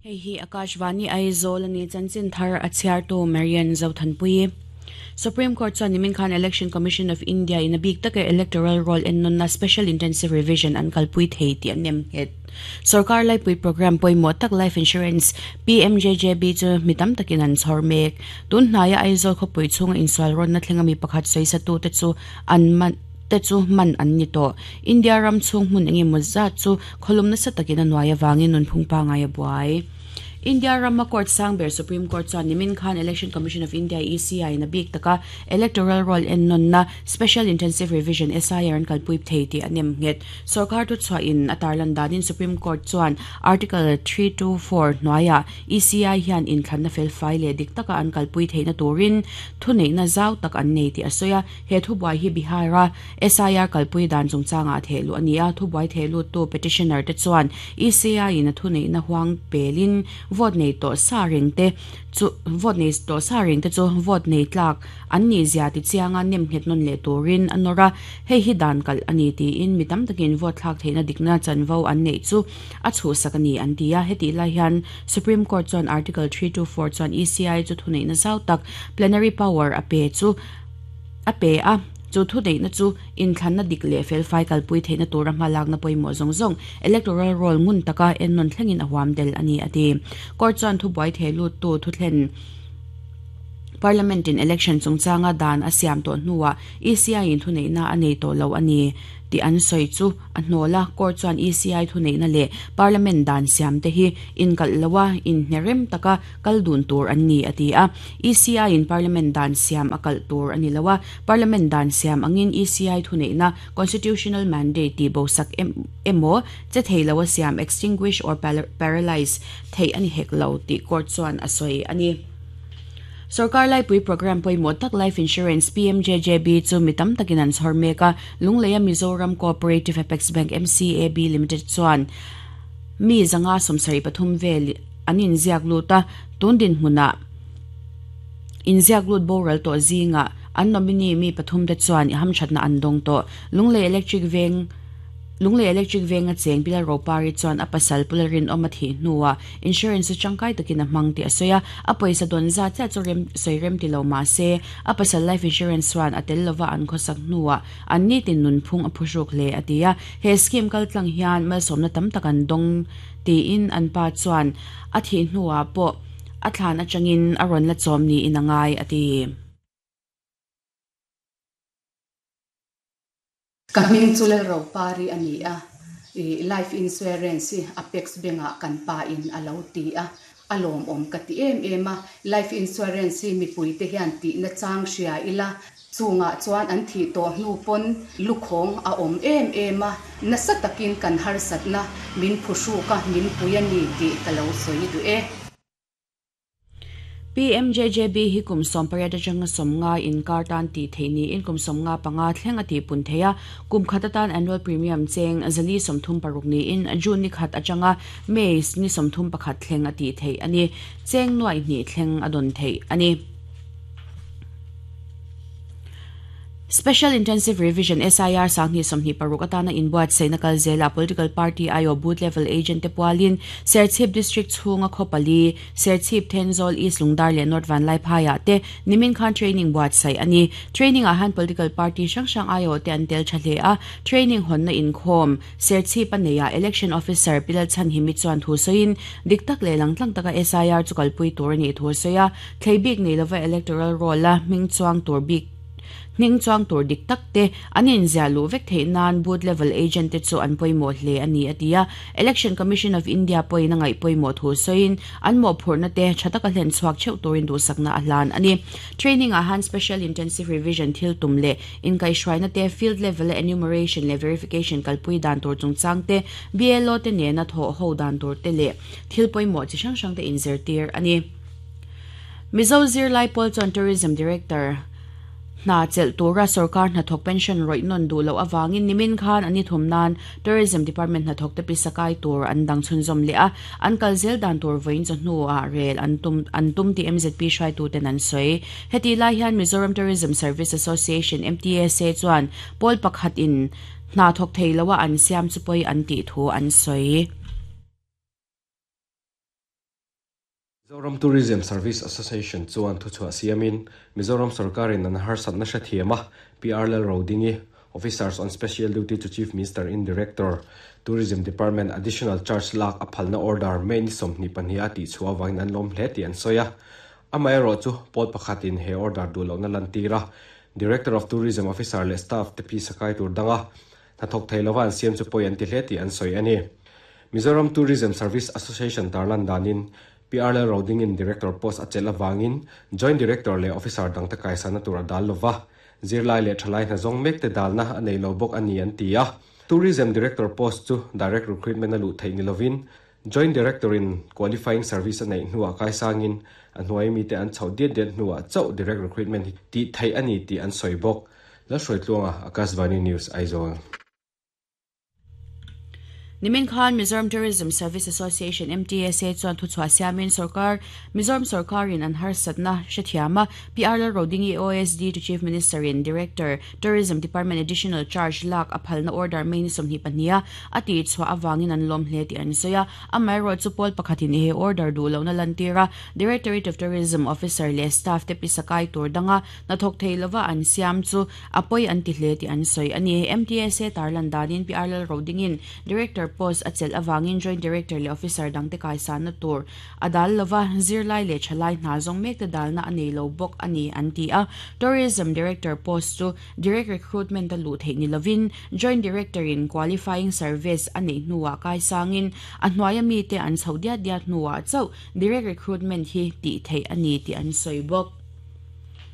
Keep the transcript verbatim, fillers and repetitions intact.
Hei hi Akashvani Aizawl ani chanchin thar a chhiartu Marian Zothanpui. Supreme Court chuan nimin khan Election Commission of India in a bik taka electoral roll en nunna Special Intensive Revision an kalpui thei tih an nem nghet. Sarkar laipui program pawimawh tak Life Insurance P M J J B chu mi tam takin an chhawr mek. Tun hnaia Aizawl khawpui chhunga insual rawnna thlenga mi pakhat sawisatu te chu an man te chu man an ni tawh. India ram chhung hmun engemaw zat chu khawlum nasa takin a hnuai avangin nunphung pangai a buai. India Rama Court Sangber Supreme Court chuan nimin khan Election Commission of India E C I in a bik taka electoral roll en nunna Special Intensive Revision S I R an kalpui thei tih an nem nghet. Sarkar thu chhuah in a tarlan danin Supreme Court chuan Article three two four hnuaiah E C I hian inthlanna fel fai leh dik taka an kalpui theihna turin thu neihna zau tak an nei tih a sawi a. He thu buai hi Bihar-a S I R kalpui dan chungchangah thehlu a ni a. Thu buai thehlu tu petitioner te chuan E C I in a thu neihna huang pelin vote nei to sa ring te chu vote nei to sa ring te chu vote nei tlak an ni zia ti chianga nem nghet non le turin anora hei hi dan kal ani ti in mitam takin vote thlak theina dikna chanvo an nei chu a chu sakani an tia heti lai hian Supreme Court chuan Article three two four chuan E C I chu thunei na zau tak plenary power a pe chu a pe a chu thu neihna chu inthlanna dik leh fel fai kalpui theihna tura hmalakna pawimawh zawng zawng electoral roll ngun taka en nawn thlengin a huam del ani a ti. Court chuan thu buai thehlu tu thu thlen Parliament in election chungchanga dan a siam tawh hnuah E C I in thu neihna a nei tawh lo ani ti an sawi chu a hnawla court chuan E C I thu neihna leh Parliament dan siam te hi inkalh loa inhnerem taka kal dun tur an ni a ti a. E C I in Parliament dan siam a kalh tur ani loa Parliament dan siam angin E C I thu neihna constitutional mandate ti bosak emaw che thei loa siam extinguish or paralyze thei ani hek lo ti court chuan a sawi ani. Sarkar laipui program pawimawh tak Life Insurance P M J J B chu mitam takin an chhawr mek a. Lungleia Mizoram Cooperative Apex Bank M C A B Limited chuan mi zanga sawmsarih pathum vel an inziak lut a. Tun din hmunah inziak lut boral tawh zinga an nominee mi pathum te chuan hamthatna an dawng tawh. Lunglei Electric Veng Lunglei Electric Veng a cheng Pilar Ropari chuan a pasal pularin awm a thih hnuah insurance changkai takin a hmang tih a sawi a. A pawisa dawn zat chiah chu rem sawi rem ti lo mah se a pasal life insurance chuan a tel lova an khawsak hnuah an ni tin nunphung a phuhruk hle a ti a. He scheme kal tlang hian malsawmna tam tak an dawng tiin an pa chuan a thih hnuah pawh a thlan atangin a rawn la chawm niin a ngai a ti. Ka hming chu le Ropari ani a life insurance Apex Bank-ah kan pa in a lo ti a a lawm awm ka ti em em a. Life insurance mi pui te hian ti na chang hria ila chungah chuan an thi tawh hnu pawn lukhawng a awm em em a nasa takin kan harsatna min phuhruka min pui ani tih ka lo sawi duh e. P M J J B hi kum sawm pariat atanga sawmnga inkar tan tih theih niin kum sawmnga panga thleng a tih pun thei a. Kum khat atan annual premium cheng zali sawmthum paruk niin June ni khat atanga May ni sawmthum pakhat thleng a tih theih ani. Cheng nuai hnih thleng a dawn theih ani. Special Intensive Revision S I R sangni sawmhnih paruk atana inbuat seina kal zela political party I O booth level agent te pualin Serchhip District chhunga khawpali Serchhip Thenzawl East Lungdar leh North Vanlai Phaiah te nimin khan training buat sai ani. Training ah han political party hrang hrang I O te an tel tha hle a. Training honna inkhawm Serchhip a neia election officer Pilal Chan himi chuan thu sawiin dik tak leh langtlang taka S I R chu kalpui tur ani thu sawi a. Thleibik nei lova electoral roll a hming chuang tur bik ning chuang tur dik tak te an inzia lu vek theih nan booth level agent te chu an pawimawh hle ani a ti a. Election Commission of India pawhin a ngaih pawimawh thu sawiin an mawhphurhna te tha taka hlen chhuak theuh turin duhsakna a hlan ani. Training ah han special intensive revision thil tum leh inkaihhruaina te field level enumeration leh verification kalpui dan tur chungchang te B L O te nena thawh ho dan tur te leh thil pawimawh chi hrang hrang te inzirtir ani. Mizo Zirlai Pawl chuan Tourism Director na chel tura sarkar hnathawk pension rawih nawn duh loh awangin nimin khan ani thum nan Tourism Department hnathawk te pisakai tur an dang chhunzawm leh a. An kal zel dan tur vawiin chu hnuah rel an tum an tum ti M Z P hruaitu ten an sawi. Heti lai hian Mizoram Tourism Service Association M T S A chuan pawl pakhat in hna thawk thei loa an siam chu pawi an tih thu an sawi. Mizoram Tourism Service Association chuan thuchhuah siamin Mizoram sarkarin an harsatna hrethiama P R Lalrodingi Officers on Special Duty to Chief Minister in Director Tourism Department Additional Charge lak a phalna order May ni sawmhnih pahnih a tih chhuah awangin an lawm hle tih an sawi a. Amaherawh chu pawl pakhatin he order duh lohna lantira Director of Tourism Officer leh staff te pi sakai tur danga hnathawk thei lova an siam chu pawi an ti hle tih an sawi a ni. Mizoram Tourism Service Association tarlan danin P R Lalrodingin Director post a chelh awangin Joint Director leh Officer dang te kaisana tur a dal lova zirlai leh thalai hna zawng mek te dalna a nei lo bawk a ni an ti a. Tourism Director post chu Direct Recruitment a luh theih ni lovin Joint Director in Qualifying Service a neih hnuah kaisangin a hnuai mi te an chhoh diat diat hnuah chauh Direct Recruitment hi tih theih a ni tih an sawi bawk. Lalhruaitluanga Akashvani News Aizawl. Nimin Khan Mizoram Tourism Service Association M T S A chuan thuchhuah siamin sarkar Mizoram sarkarin an harsatna hrethiama P R Lalrodingi O S D to Chief Minister in Director Tourism Department Additional Charge lak a phalna order May ni sawmhnih pahnih a ti chhuah awangin an lawm hle tih an sawi a. Amaherawh chu pawl pakhatin he order duh lohna lantira Directorate of Tourism Officer leh staff te pisakai tur danga hnathawk thei lova an siam chu a pawi an ti hle tih an sawi a ni. M T S A tarlan danin P R Lalrodingin Director post a chelh awangin Joint Director leh Officer dang te kaisana tur a dal lova zirlai leh thalai hna zawng mek te dalna a nei lo bawk a ni an ti a. Tourism Director post chu Direct Recruitment a luh theih ni lovin Joint Director in Qualifying Service a nei hnuah kaisangin a hnuaia mi te an chhoh diat diat hnuah chauh Direct Recruitment hi tih theih a ni tih an sawi bawk.